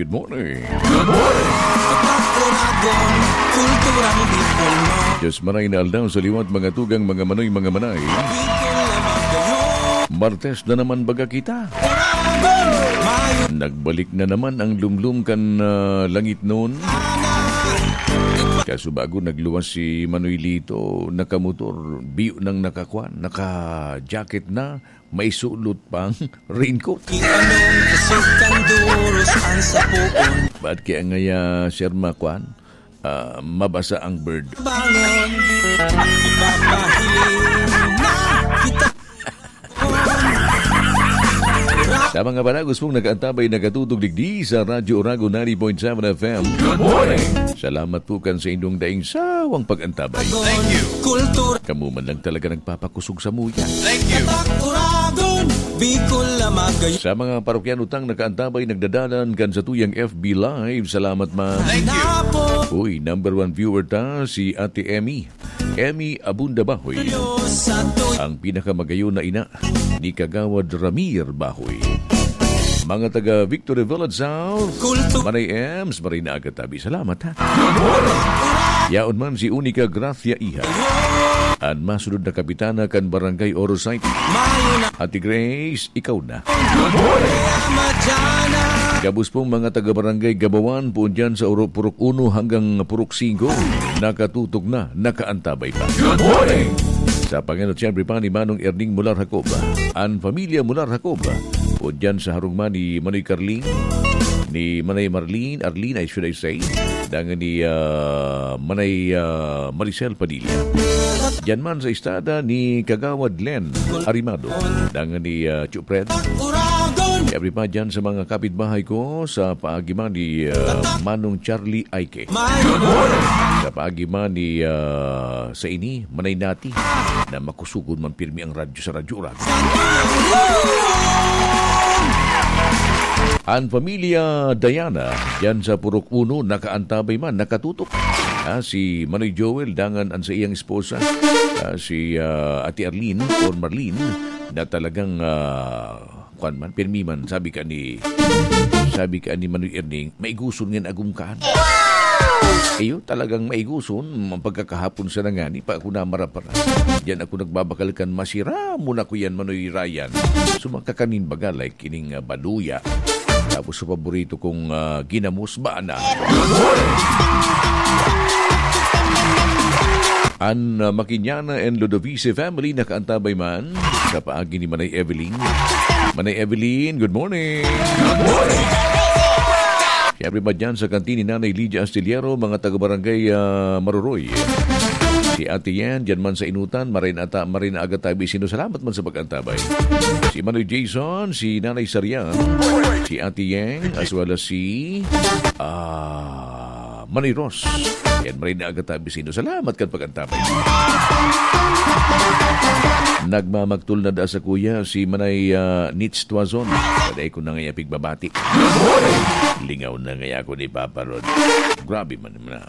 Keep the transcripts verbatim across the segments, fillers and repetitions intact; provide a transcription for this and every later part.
Good morning. Good morning. Tatak Oragon, kulturang Bicol mo. Diyos maray na aldaw sa liwat, mga tugang, mga manoy, mga manay. Bicol na magayon. Martes na naman baga kita. Oragon, mayo. Nagbalik na naman ang lumlum kan, ah, langit noon. Kaso bago nagluwas si Manoy Lito, nakamotor, biyo nang nakakwan, naka-jacket na, may sulot pang raincoat. Di anong kusog kan duros ang sapoon. Ba't kaya ngaya, Sir Makwan? Ah, mabasa ang bird. Bangon, ipapahiling na kita. Sa mga panagos pong nag-aantabay, nakatutog digdi sa Radyo Oragon ninety point seven F M. Good morning! Salamat po kan sa inyong daing sawang pag-antabay. Thank you. Kultura. Kamo man lang talaga nagpapakusog sa muya. Thank you. Tatak Oragon, Bicol na magayon. Sa mga parokyan utang nakaantabay, nagdadalan kan sa tuyang F B Live, salamat man. Thank you. Uy, number one viewer ta, si Ate Emmy. Emmy Abunda Bahoy. Ang pinakamagayon na ina ni Kagawad Ramir Bahoy. Mga taga Victory Village South, Manay Ems, maray na aga tabi. Salamat, ha? Yaon man si Unica Gracia Iha, an masunod na kapitana kan Barangay Orosite. Ate Grace, ikaw na. Gabos pong mga taga-barangay Gabawan, poon dyan sa Uro-, Purok Uno hanggang Purok Singko, nakatutok na, nakaantabay pa. Good morning! Sa pangenot, siyempre pa ni Manong Erning Mular Jacob. An pamilya Mular Jacob, poon dyan sa harong man ni Manoy Carling, ni Manay Marlene, Arlene, I should I say, dangan ni, ah, Manay, ah, Maricel Padilla. Diyan man sa istada ni Kagawad Len Arimado, dangan ni, ah, Chupred. Siyempre pa dyan sa mga kapitbahay ko sa paagi man ni, ah, Manong Charlie Aike. Sa paagi man ni, ah, sa ini, Manay Nati, na makusugon man pirmi ang radyo sa Radyo Oragon. An pamilya Diana, diyan sa Purok Uno, nakaantabay man, nakatutok. Ah, si Manoy Joel, dangan an sa iyang esposa, ah, si, ah, Ate Arlene or Marlene, na talagang, ah, kwan man, pirmi man, sabi ka ni, sabi ka ni Manoy Erning, "Maiguson ngan agom kan." Iyo, talagang maiguson, ang pagkakahapon sa nangani, pa ako namarapara. Diyan ako nagbabakal kan masira mo na ko yan, Manoy Ryan. Sumaka kanin baga, like, kining, ah, baluya. Tapos sa paborito kong, ah, ginamos, bana. An, ah, Makiñana and Ludovice family nakaantabay man sa paagi ni Manay Evelyn. Manay Evelyn, good morning. Good morning. Siyempre pa dyan sa kantin ni Nanay Lydia Astillero, mga taga-barangay, ah, Maruroy. Si Ate Yen, dyan man sa Inutan, maray na ata, maray na aga tabi sino. Salamat man sa pag-antabay. Si Manoy Jason, si Nanay Sarian, si Ate Yeng, as well as si, ah, Manoy Ros. Yan, maray na aga tabi sino. Salamat kan pag-antabay. Nagmamagtol na da sa kuya, si Manay, ah, Nits Tuazon. Paday ko na nga ipigbabati. Lingaw na nga ako ni Papa Rod. Grabe man na.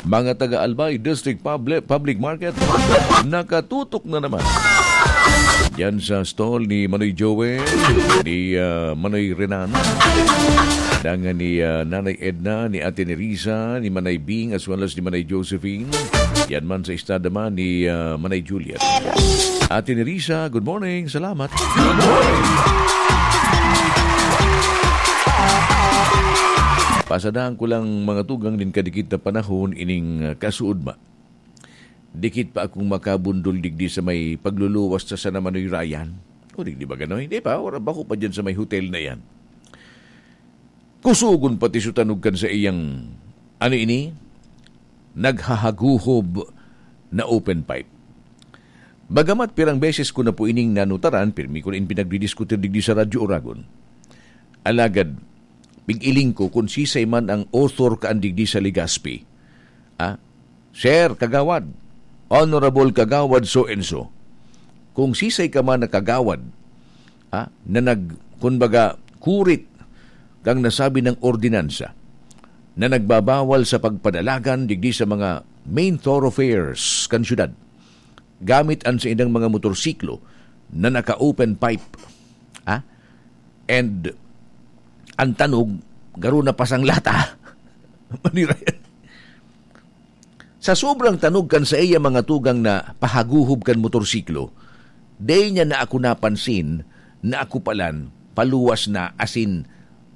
Mga taga Albay District Public, Public Market, nakatutok na naman. Yan sa stall ni Manoy Joel, ni, ah, Manoy Renan, dangan ni, ah, Nanay Edna, ni Ate Nerisa, ni Manay Bing, as well as ni Manay Josephine. Yan man sa istada man ni, ah, Manay Juliet. Ate Nerisa, good morning. Salamat. Good morning. Pasadahan ko lang mga tugang nin kadikit na panahon ining, ah, kasuodma. Dikit pa akong makabundol digdi sa may pagluluwas sa San Manoy Ryan. O, digdi ba ganoy? Di pa, wala ba ko pa dyan sa may hotel na yan? Kusugon pati su tanog kan sa iyang, ano ini? Naghahaguhob na open pipe. Bagamat pirang beses ko na po ining nanutaran, pirmi ko na in pinagdidiskutir digdi sa Radyo Oragon. Alagad, pig-iling ko kun sisay man ang author kaan digdi sa Legazpi. Ah, Sir, Kagawad, Honorable Kagawad so and so, kung sisay ka man na kagawad, ah, na nag-, kumbaga, kurit kang nasabi ng ordinansa na nagbabawal sa pagpadalagan digdi sa mga main thoroughfares kan syudad, gamit an saindang mga motorsiklo na naka-open pipe. And ang tanog, garo na pasang lata. Manira yan. Sa sobrang tanog kan saiya mga tugang na pahaguhob kan motorsiklo, dai niya na ako napansin na ako palan paluwas na, asin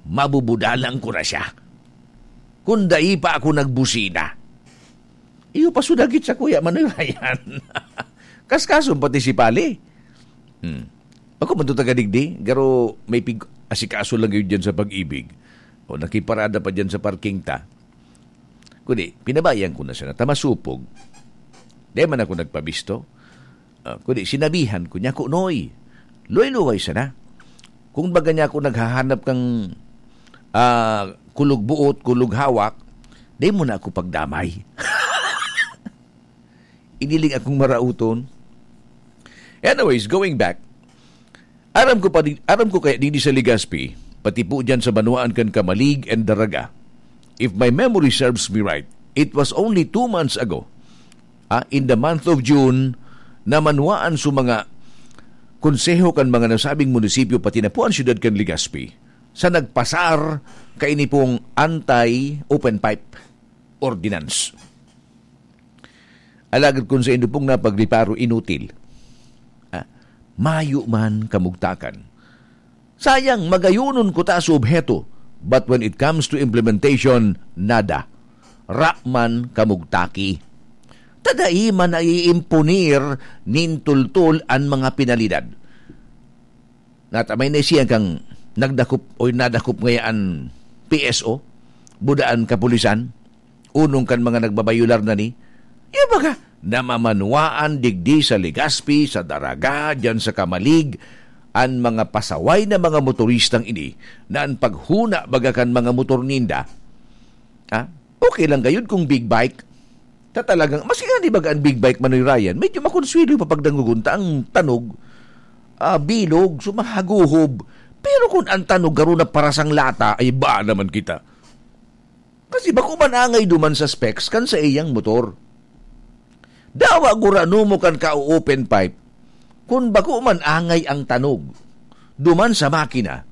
mabubudalan ko na siya. Kung dai pa ako nagbusina. Iyo pa sudagit sa kuya, Manoy Ryan. Kaskason pati si Pali. Hmm. Ako man to taga digdi, garo may pig-asikaso lang yun dyan sa Pag-ibig. O nakiparada pa dyan sa parking ta. Kundi, pinabayaan ko na siya na tamasupog. Di man ako nagpabisto. Ah, kundi, sinabihan ko niya, "Kunoy, luway-luway sana. Kung baga niya ako naghahanap kang ah, kulog buot, kulog hawak, di mo na ako pagdamay." Iniling akong marauton. Anyways, going back, aram ko pa di, aram ko kaya didi sa Legazpi, pati po dyan sa banwaan kan Camalig and Daraga. If my memory serves me right, it was only two months ago, ah, in the month of June, na manwaan sa mga konseho kan mga nasabing munisipyo, pati na po ang siyudad kan Legazpi, sa nagpasar kaini pong anti-open pipe ordinance. Alagad kung sa inyo pong napagreparo, inutil. Ah, mayo man kamugtakan. Sayang, magayonon ko ta sa obheto. But when it comes to implementation, nada. Ra man kamugtaki. Tadai man naiimponer nin tultol an mga penalidad. Natamay na siya kang nagdakop o nadakop ngaya an P S O, budaan kapulisan, unong kan mga nagbabayular na ni. Iya baga, namamanwaan digdi sa Legazpi, sa Daraga, dyan sa Camalig, an mga pasaway na mga motoristang ini na an paghuna baga kan mga motor ninda, ah, okay lang gayud kung big bike. Ta talagang, maski nga di baga an big bike, Manoy Ryan, medyo makonsuelo pa pagdangogon ta ang tanog, ah, bilog, sumahaguhob. Pero kung ang tanog garo na parasang lata, ay ba naman kita. Kasi bako man angay duman sa specs kan sa iyang motor. Dawa gurano mo kan ka-open pipe, kun bako man angay ang tanog duman sa makina,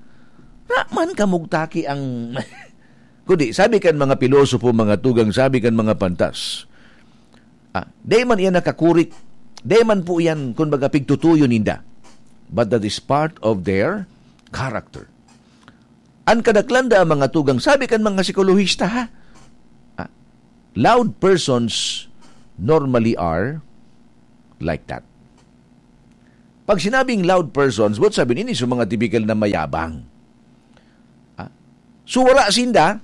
ra man kamugtaki ang kundi, sabi kan mga pilosopo, mga tugang, sabi kan mga pantas, ah, dai man iyan nakakurik, dai man po iyan, kun baga, pigtutuyo ninda. But that is part of their character. An kadaklan da ang mga tugang, sabi kan mga psikolohista, ha? Ah, loud persons normally are like that. Pag sinabing loud persons, what sabi nini sa mga tipikal na mayabang? Ah, so wala sinda,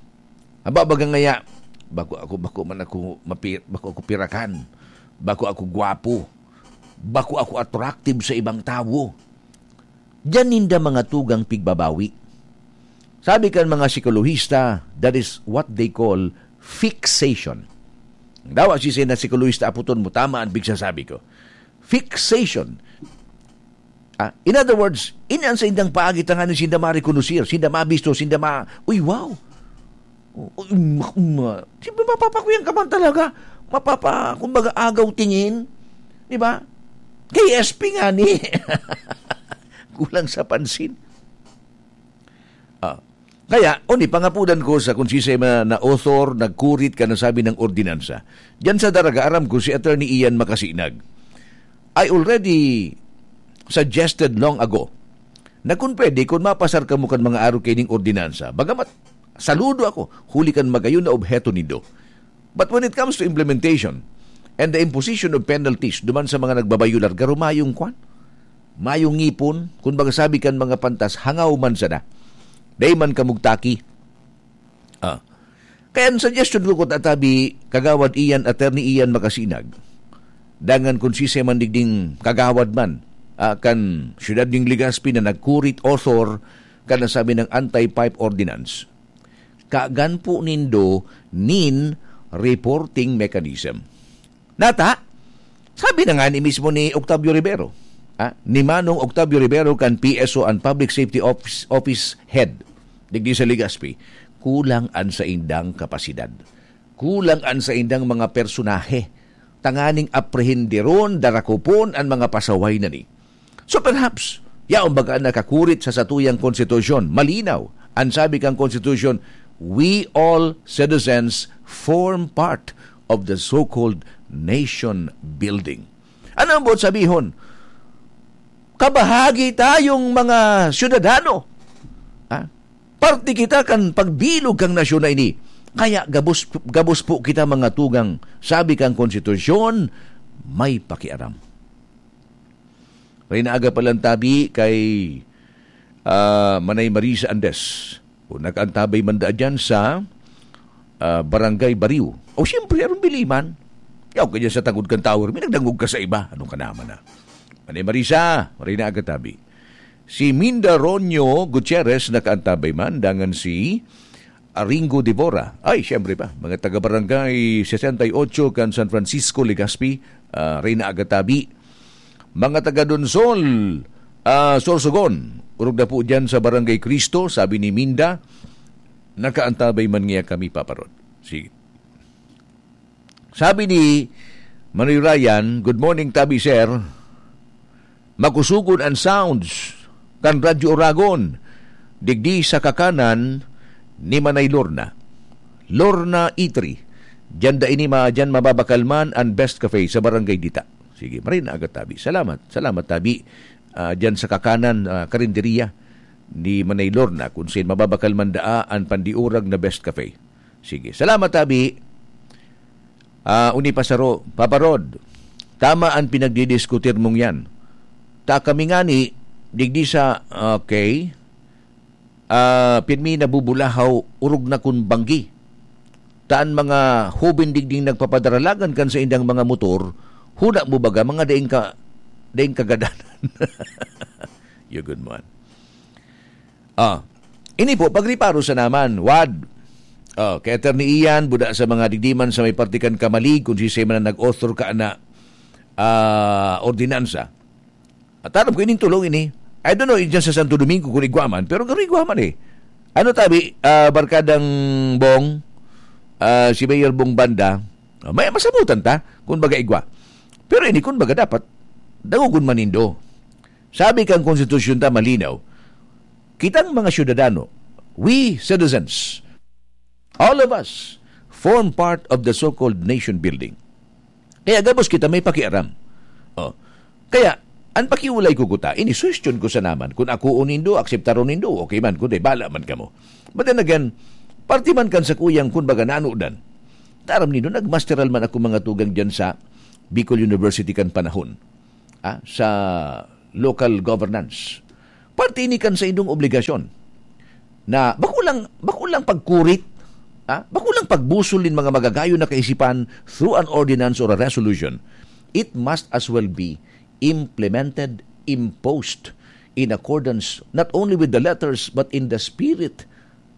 aba, baga ngaya, bako ako, bako man ako mapi-, bako ako pirakan, bako ako gwapo, bako ako attractive sa ibang tawo. Diyan ninda mga tugang pigbabawi. Sabi kan mga psikolohista, that is what they call fixation. Dawa si na psikolohista, aputon mo, tama ang pigsasabi ko. Fixation. Ah, in other words, ini ang saindang paagi tanganing sinda marekonosir, sinda mabisto, sinda ma-, "Uy, wow! Uy, ma-, ma-," siyempre, mapapakuyang ka man talaga. Mapapa-, kumbaga, agaw tingin. Di ba? K S P nga ni. Kulang sa pansin. Ah. Kaya, oni, pangapudan ko sa kung siisay man na author, nagkurit kan nasabi na ordinansa. Diyan sa Daraga, aram ko si Attorney Ian Makasinag. I already suggested long ago na kung pwede, kung mapasar kamo kan mga arog kaining ordinansa, bagamat saludo ako, huli kan magayon na obheto nindo. But when it comes to implementation and the imposition of penalties duman sa mga nagbabayular, garo mayong kwan, mayong ngipon, kun baga sabi kan mga pantas, hangaw man sana. Dai man kamugtaki. Ah. Kaya ang suggestion ko, kun tatabi, Kagawad Ian, Attorney Ian Makasinag, dangan kun siisay man digding kagawad man, ah, kan siyudad ning Legazpi na nagkurit, author kan nasabi ng anti-pipe ordinance, kagan po nindo nin reporting mechanism. Nata, sabi na nga ni mismo ni Octavio Rivero, ah, ni Manong Octavio Rivero kan P S O, an Public Safety Office, Office Head, digdi sa Legazpi, kulang an saindang kapasidad. Kulang an saindang mga personahe tanganing aprehenderon, darakopon an mga pasaway na ni. So perhaps, Yaon baga nakakurit sa satuyang konstitusyon? Malinaw. An sabi kan konstitusyon, "We all citizens form part of the so-called nation building." Ano ang buot sabihon? Kabahagi tayong mga syudadano. Ha? Parte kita kan pagbilog kan nasyon na ini. Kaya gabos, gabos po kita, mga tugang. Sabi kan konstitusyon, may pakiaram. Reyna Aga palan tabi kay, ah, Manay Marisa Andes. O nag-antabay man daa dyan sa, ah, Barangay Bariw. O siyempre, arong biliman. Yaw ka dyan sa tangod kan tower, may nagdangog ka sa iba. Ano ka naman, ah? Manay Marisa, Reyna Aga tabi. Si Minda Ronyo Gutierrez nakaantabay man, dangan si Aringo Devora. Ay, siyempre pa, mga taga-barangay sesenta y ocho kan San Francisco, Legazpi, ah, Reyna Aga tabi. Mga taga Donsol, ah, Sorsogon, orog na po dyan sa Barangay Cristo, sabi ni Minda, nakaantabay man niya kami, Papa Rod. Sige. Sabi ni Manoy Ryan, "Good morning, tabi, sir. Makusugon an sounds kan Radyo Oragon, digdi sa kakanan ni Manay Lorna. Lorna Eatery. Diyan da ini ma-, diyan mababakalman an Best Cafe sa Barangay Dita." Sige, Marina Aga tabi. Salamat, salamat, tabi. Ah, diyan sa kakanan, ah, karinderiya ni Manay Lorna, kung saan mababakalman daa an pandiurag na Best Cafe. Sige, salamat, tabi. Ah, uni pa saro, Papa Rod, tama an pinagdidiskutir mong yan. Ta kami ngani, digdi sa, okay, ah, pirmi nabubulahaw, orog na kun banggi. Ta an mga hoben digding nagpapadaralagan kan saindang mga motor, huna mo baga, mga daing ka-, daing kagadanan. Yun, good man. Ah, ini po, pagriparo sa naman, wad. Ah, kay Attorney Ian, buda sa mga digdiman sa may parte kan Camalig, kung sisay man ang nag-author ka na, ah, ordinansa. At alam ko, ining tulong ini. I don't know, dyan sa Santo Domingo, kung igwa man, pero garo igwa man eh. Ano tabi, ah, Barkadang Bong, ah, si Mayor Bong Banda, ah, may masabutan ta, kung baga igwa. Pero ini, kung baga dapat, dangogon man nindo. Sabi kang konstitusyon ta malinaw, kitang mga syudadano, we citizens, all of us, form part of the so-called nation building. Kaya gabos kita may pakiaram. Oh. Kaya, an pakiulay ko kuta, ini suhestyon ko sa naman, kun ako o nindo, akseptaron nindo, okay man, kundi bala man kamo. But then again, parte man kan sa kuyang kun baga nanodan. Taram nindo, nagmasteral man ako mga tugang dyan sa Bicol University kan panahon, ah, sa local governance. Parte ini kan saindong obligasyon na bako lang, bako lang pagkurit, ah, bako lang pagbusol nin mga magagayon na kaisipan through an ordinance or a resolution. It must as well be implemented, imposed in accordance not only with the letters but in the spirit,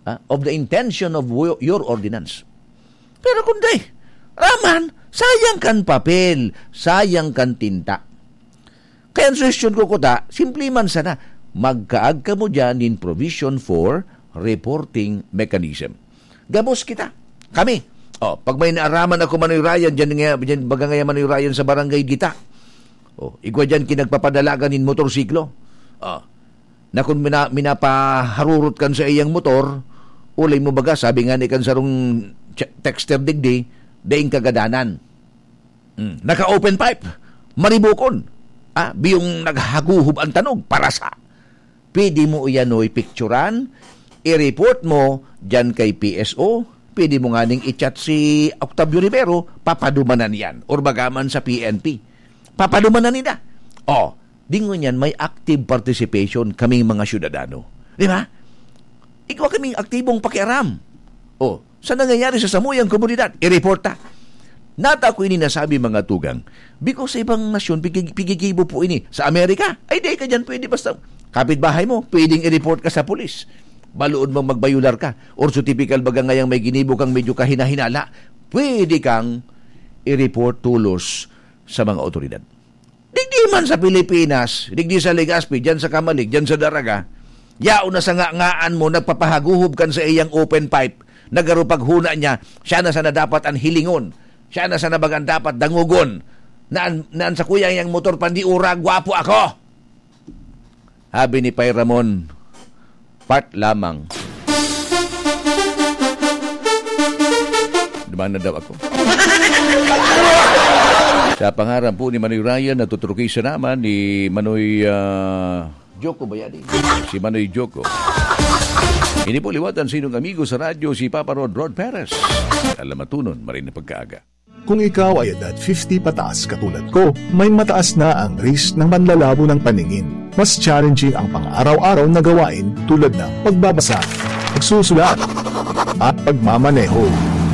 ah, of the intention of wo-, your ordinance. Pero kundi, raman, sayang kan papel, sayang kan tinta. Kaya ang suhestyon ko kuta, simple man sana, magkaag kamo dyan nin provision for reporting mechanism. Gabos kita. Kami. Oh, pag may naaraman ako, Manoy Ryan, dyan nga, dyan, baga nga, Manoy Ryan, sa Barangay Dita. Oh, igwa dyan kinagpapadalagan nin motorsiklo. Oh, na kun mina-, minapaharurot kan sa iyang motor, ulay mo baga, sabi nga ni kan sarong ch-, texter digdi, daing kagadanan. Hmm, naka-open pipe, maribukon. Ah, biyong naghaguhob ang tanog, parasa. Pwede mo iyan, oy, picturan, i-report mo dyan kay P S O, pwede mo nganing i-chat si Octavio Rivero, papadumanan yan. Or bagaman sa P N P. Papadumanan nila. Oh, dingon yan, may active participation kaming mga syudadano. Di ba? Igwa kaming aktibong pakiaram. Oh, sa nangyayari sa samuyang komunidad, i-report ta. Nata ko ini nasabi, mga tugang. Because sa ibang nasyon, pigig-, pigigibo po ini. Sa Amerika, ay, di ka dyan pwede basta kapitbahay mo, pwedeng i-report ka sa pulis. Baloon mong magbayular ka. Or so typical baga ngayang may ginibo kang medyo kahinahinala, pwede kang i-report tolos sa mga otoridad. Digdi man sa Pilipinas, digdi sa Legazpi, dyan sa Camalig, dyan sa Daraga, yaon na sa nga-ngaan mo, nagpapahaguhob kan sa iyang open pipe, nagarupaghuna niya, siya na sana dapat an hilingon, siya na sana bagang dapat dangogon, na an, na an sa kuya niyang motor pandiura, gwapo ako. Abi ni Pay Ramon, part lamang. Duman na daw ako. Sa pangaran po ni Manoy Ryan, natuturuki siya naman ni Manoy, ah, Joko ba yan eh? Si Manoy Joko. Ini po liwat ang sinong amigo sa radyo, si Papa Rod, Rod Perez. Alam matunon, marin na pagkaaga. Kung ikaw ay edad fifty pataas katulad ko, may mataas na ang risk ng panlalabo ng paningin. Mas challenging ang pang-araw-araw na gawain tulad ng pagbabasa, pagsusulat, at pagmamaneho.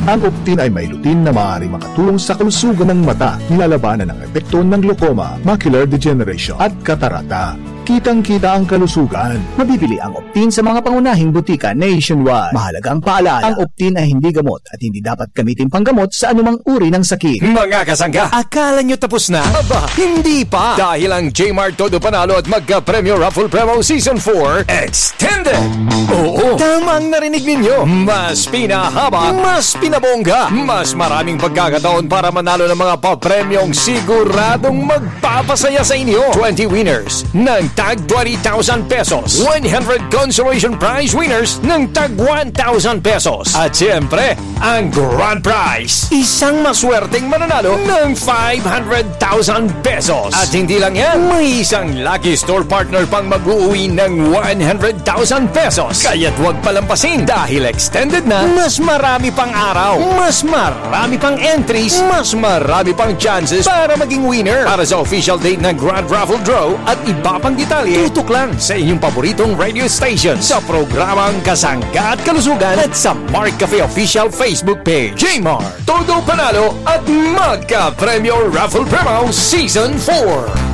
Ang Optin ay may lutein na maaaring makatulong sa kalusugan ng mata, nilalabanan ang epekto ng glaucoma, macular degeneration, at katarata. Kitang-kita ang kalusugan. Mabibili ang Optin sa mga pangunahing butika nationwide. Mahalagang paalala, ang Optin ay hindi gamot at hindi dapat gamitin panggamot sa anumang uri ng sakit. Mga kasangga, akala nyo tapos na? Aba, hindi pa! Dahil ang Jmart Todo Panalo at Magka-Premyo Raffle Promo Season four Extended! Oo, tama ang narinig ninyo. Mas pinahaba, mas pinabongga, mas maraming pagkakataon para manalo ng mga papremyong siguradong magpapasaya sa inyo. Twenty winners ng tag twenty thousand pesos. One hundred consolation prize winners ng tag one thousand pesos. At siyempre, ang grand prize, isang maswerteng mananalo ng five hundred thousand pesos. At hindi lang yan, may isang lucky store partner pang mag-uuwi ng one hundred thousand pesos. Kaya't huwag palampasin dahil extended na, mas marami pang araw, mas marami pang entries, mas marami pang chances para maging winner. Para sa official date ng Grand Raffle Draw at iba pang detalye, tutok lang sa inyong paboritong radio station sa programang Kasangga at Kalusugan at sa Mark Cafe Official Facebook Page. Jmart, Todo Panalo at Magka-Premyo Raffle Promo Season four.